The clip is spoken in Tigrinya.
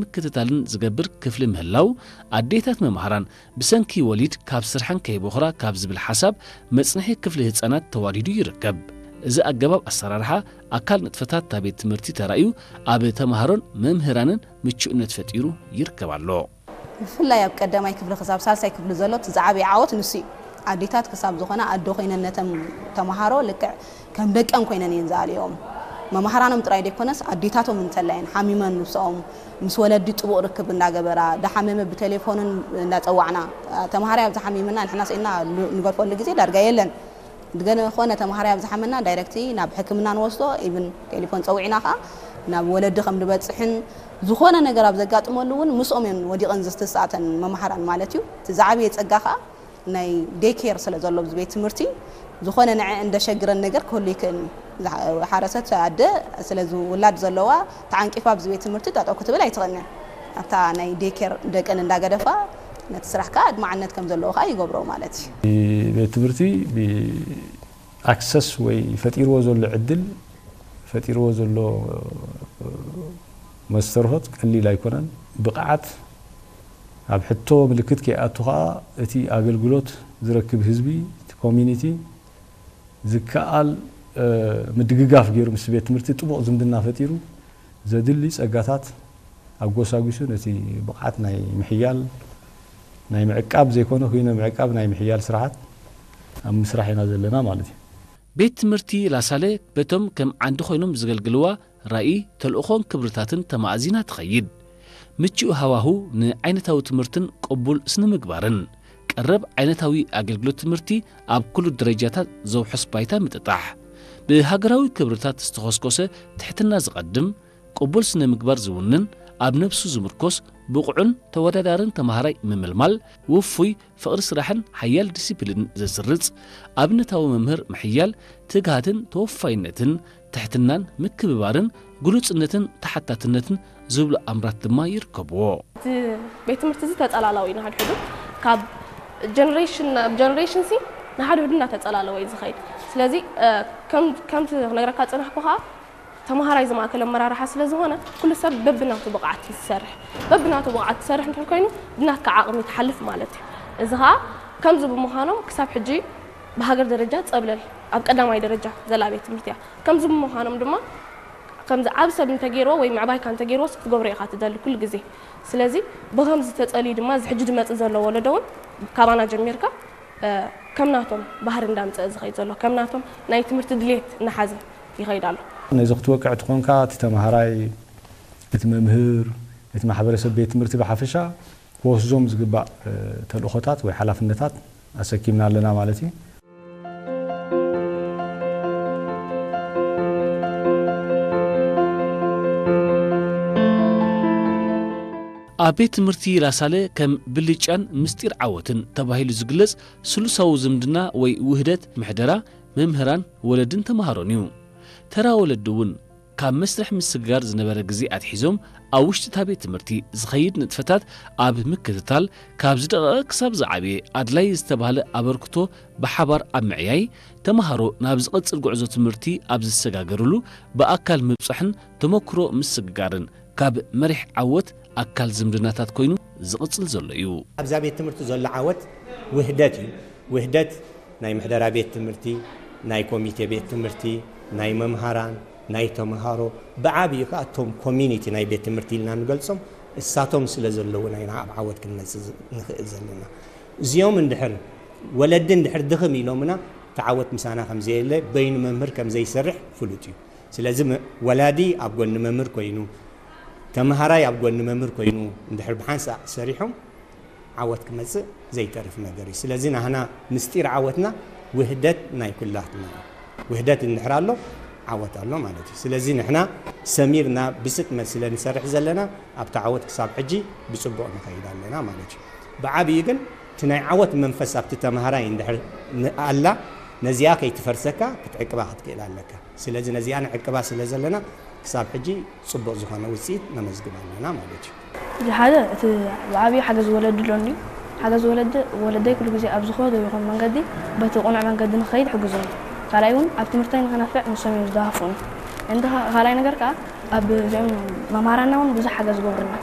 ምክትታልን ዝገብር ክፍሊ ምህላው፣ ኣዴታት መምሃራን ብሰንኪ ወሊድ ካብ ስርሐን ከይቦኽራ ካብ ዝብል ሓሳብ መጽንሒ ክፍሊ ህጻናት ተዋዲዱ ይርከብ። እዚ ኣገባብ ኣሰራርሓ ኣካል ንጥፈታት እታ ቤት ትምህርቲ ተራእዩ ኣብ ተምሃሮን መምህራንን ምቹእነት ፈጢሩ ይርከብ ኣሎ። ብፍላይ ኣብ ቀዳማይ ክፍሊ ክሳብ ሳልሳይ ክፍሊ ዘሎ እቲ ዝዓበየ ዓወት ንሱ እዩ። ኣዴታት ክሳብ ዝኾነ ኣዶ ኮይነን ነተን ተምሃሮ ልክዕ ከም ደቀን ኮይነን እየን ዝኣልዮም። መምሃራኖም ጥራይ ዘይኮነስ ኣዴታቶም እንተላየን ሓሚመን ንሶም ምስ ወለዲ ጥቡቕ ርክብ እንዳገበራ፣ ዳሓመመ ብቴሌፎንን እንዳጸዋዕና፣ ተምሃራይ ኣብዚ ሓሚምና ንሕና ስኢና ንገድፈሉ ግዜ ዳርጋ የለን። ድገነ ኾነ ተምሃራይ ኣብ ዝሓመና ዳይረክት ናብ ሕክምና ንወስዶ፣ ኢቭን ቴሌፎን ጸዊዕና ኸኣ ናብ ወለዲ ከም ዝበጽሕን ዝኾነ ነገር ኣብ ዘጋጥመሉ እውን ምስኦም እየን ወዲቐን ዝተሳእተን መምሃራን ማለት እዩ። እቲ ዝዓበየ ጸጋ ኸኣ ናይ ዴይ ኬር ስለ ዘሎ ኣብዚ ቤት ትምህርቲ ዝኾነ ንዐ እንደሸግረን ነገር ክህሉ ይክእል እዩ። ዝሓ-፣ ሓረሰት ኣደ ስለ ዝውላድ ዘለዋ ተዓንቂፋ ኣብዚ ቤት ትምህርቲ ጠጠው ክትብል ኣይትኽእልን እያ። ኣብታ ናይ ዴይ ኬር ደቀን እንዳገደፋ ነቲ ስራሕ ከዓ ኣድማዕነት ከም ዘለዎ ከዓ ይገብሮ ማለት እዩ። ቤት ትምህርቲ ብኣክሰስ ወይ ፈጢርዎ ዘሎ ዕድል፣ ፈጢርዎ ዘሎ መስተርሆት ቀሊል ኣይኮነን። ብቕዓት ኣብ ሕቶ ምልክት ከይኣቱ ከዓ እቲ ኣገልግሎት ዝረክብ ህዝቢ፣ እቲ ኮሚኒቲ ዝከኣል፣ እ፣ ምድግጋፍ ገይሩ ምስ ቤት ትምህርቲ ጥቡቕ ዝምድና ፈጢሩ ዘድሊ ጸጋታት ኣጎሳጒሱ ነቲ ብቕዓት ናይ ምሕያል፣ ናይ ምዕቃብ ዘይኮነ፣ ኩይነ ምዕቃብ ናይ ምሕያል ስራሓት ኣብ ምስራሕ ኢና ዘለና ማለት እዩ። ቤት ትምህርቲ ላሳለ በቶም ከም ዓንዲ ኮይኖም ዝገልግልዋ ራኢ፣ ተልእኾን ክብርታትን ተማእዚና ትኸይድ። ምቹእ ሃዋሁ ንዓይነታዊ ትምህርትን ቅቡል ስነ ምግባርን፣ ቀረብ ዓይነታዊ ኣገልግሎት ትምህርቲ ኣብ ኩሉ ደረጃታት ዘውሕስ ባይታ ምጥጣሕ፣ ብሃገራዊ ክብርታት ዝተኾስኮሰ ትሕትና ዝቐድም፣ ቅቡል ስነ ምግባር ዝውንን፣ ኣብ ነብሱ ዝምርኮስ፣ ብቑዕን ተወዳዳርን ተማሃራይ ምምልማል፣ ውፉይ ፍቕሪ ስራሕን ሓያል ዲሲፕሊን ዘስርጽ ኣብነታዊ መምህር ምሕያል፣ ትግሃትን ተወፋይነትን፣ ትሕትናን ምክብባርን፣ ግሉጽነትን ተሓታትነትን ዝብሉ ኣምራት ድማ ይርከብዎ። እቲ ቤት ትምህርቲ እዚ ተጸላላዊ እዩ። ንሓድሕዱ ካብ ጀነሬሽን ናብ ጀነሬሽን ሲ ንሓድሕዱ እናተጸላለወ እዩ ዝኸይድ። ስለዚ፣ እ፣ ከም፣ ከምቲ ክነግረካ ዝጸናሕኩ ኸኣ፣ ተማሃራይ ዝማእከል ኣመራርሓ ስለ ዝኾነ፣ ኩሉ ሰብ በብናቱ ብቕዓት እዩ ዝሰርሕ። በብናቱ ብቕዓት ዝሰርሕ እንድሕር ኮይኑ፣ ብናትካ ዓቕሚ ትሓልፍ ማለት እዩ። እዚ ኸኣ ከምዚ ብምዃኖም ክሳብ ሕጂ ብሃገር ደረጃ ጸብለል ኣብ ቀዳማይ ደረጃ ዘላ ቤት ትምህርቲ እያ። ከምዚ ብምዃኖም ድማ፣ ከምዚ ዓቢ ሰብ እንተገይርዎ ወይ ምዕባይካ እንተገይርዎስ ክትገብሮ ኢኻ ትደሊ ኩሉ ግዜ። ስለዚ ብኸምዚ ተጸልዩ ድማ እዚ ሕጂ ዝመጽእ ዘሎ ወለዶ እውን ካባና ጀሚርካ፣ እ፣ ከም ናቶም ባህሪ እንዳምጸአ ዝኸይድ ዘሎ፣ ከም ናቶም ናይ ትምህርቲ ድሌት እናሓዘ ይኸይድ ኣሎ። ነዚ ክትወቅዕ ትኾንካ፣ እቲ ተማሃራይ፣ እቲ መምህር፣ እቲ ማሕበረሰብ ቤት ትምህርቲ ብሓፈሻ ክወስዞም ዝግባእ፣ እ፣ ተልእኾታት ወይ ሓላፍነታት ኣሰኪምና ኣለና ማለት እዩ። ኣብ ቤት ትምህርቲ ላሳለ ከም ብልጫን ምስጢር ዓወትን ተባሂሉ ዝግለጽ ስሉሳዊ ዝምድና ወይ ውህደት ምሕደራ መምህራን፣ ወለድን ተማሃሮን እዩ። ተራ ወለዲ እውን ካብ መስርሕ ምስግጋር ዝነበረ ግዜ ኣትሒዞም ኣብ ውሽጢ እታ ቤት ትምህርቲ ዝኸይድ ንጥፈታት ኣብ ምክትታል፣ ካብ ዝደቐቐ ክሳብ ዝዓበየ ኣድላይ ዝተባህለ ኣበርክቶ ብሓባር ኣብ ምዕያይ፣ ተማሃሮ ናብ ዝቐጽል ጉዕዞ ትምህርቲ ኣብ ዝሰጋገርሉ ብኣካል ምብጻሕን ተመክሮ ምስግጋርን ካብ መሪሕ ዓወት ኣካል ዝምድናታት ኮይኑ ዝቕጽል ዘሎ እዩ። ኣብዛ ቤት ትምህርቲ ዘሎ ዓወት ውህደት እዩ። ውህደት ናይ ምሕደራ ቤት ትምህርቲ፣ ናይ ኮሚቴ ቤት ትምህርቲ፣ ናይ መምሃራን፣ ናይ ተምሃሮ፣ ብዓብዩ ከኣ እቶም ኮሚኒቲ ናይ ቤት ትምህርቲ ኢልና ንገልጾም፣ እሳቶም ስለ ዘለዉና ኢና ኣብ ዓወት ክንመጽእ ዝ-፣ ንኽእል ዘለና። እዚኦም እንድሕር፣ ወለዲ እንድሕር ድኽም ኢሎምና፣ እቲ ዓወት ምሳና ከም ዘየለ፣ በይኑ መምህር ከም ዘይሰርሕ ፍሉጥ እዩ። ስለዚ መ-፣ ወላዲ ኣብ ጎኒ መምህር ኮይኑ፣ ተምሃራይ ኣብ ጎኒ መምህር ኮይኑ እንድሕር ብሓንሳእ ሰሪሖም፣ ዓወት ክመጽእ ዘይተርፍ ነገር እዩ። ስለዚ ናህና ምስጢር ዓወትና ውህደት ናይ ኩላትና እዩ። ውህደት እንድሕር ኣሎ፣ ዓወት ኣሎ ማለት እዩ። ስለዚ ንሕና ሰሚርና ብስጥመት ስለ ንሰርሕ ዘለና፣ ኣብቲ ዓወት ክሳብ ሕጂ ብጽቡቕ ንኸይድ ኣለና ማለት እዩ። ብዓብዩ ግን እቲ ናይ ዓወት መንፈስ ኣብቲ ተምሃራይ እንድሕር ን-፣ ኣላ፣ ነዚኣ ከይትፈርሰካ ክትዕቅባ ክትክእል ኣለካ። ስለዚ ነዚኣ ንዕቅባ ስለ ዘለና፣ ክሳብ ሕጂ ጽቡቕ ዝኾነ ውጽኢት ነመዝግብ ኣለና ማለት እዩ። እዚ ሓደ፣ እቲ ብዓብዩ ሓገዝ ወለዲ ኣሎ እንድዩ። ሓገዝ ወለዲ፣ ወለደይ ኩሉ ግዜ ኣብ ዝኾነ ይኹን መንገዲ በቲ ቅኑዕ መንገዲ ንኸይድ ይሕግዙኒ። ካልኣይ እውን ኣብ ትምህርተይ ንኸነፍዕ ንሶም እዮም ዝደፋፍኡኒ። እንተ ኸ-፣ ካልኣይ ነገር ከኣ ኣብ እዚኦም መምሃራንና እውን ብዙሕ ሓገዝ ይገብሩልና።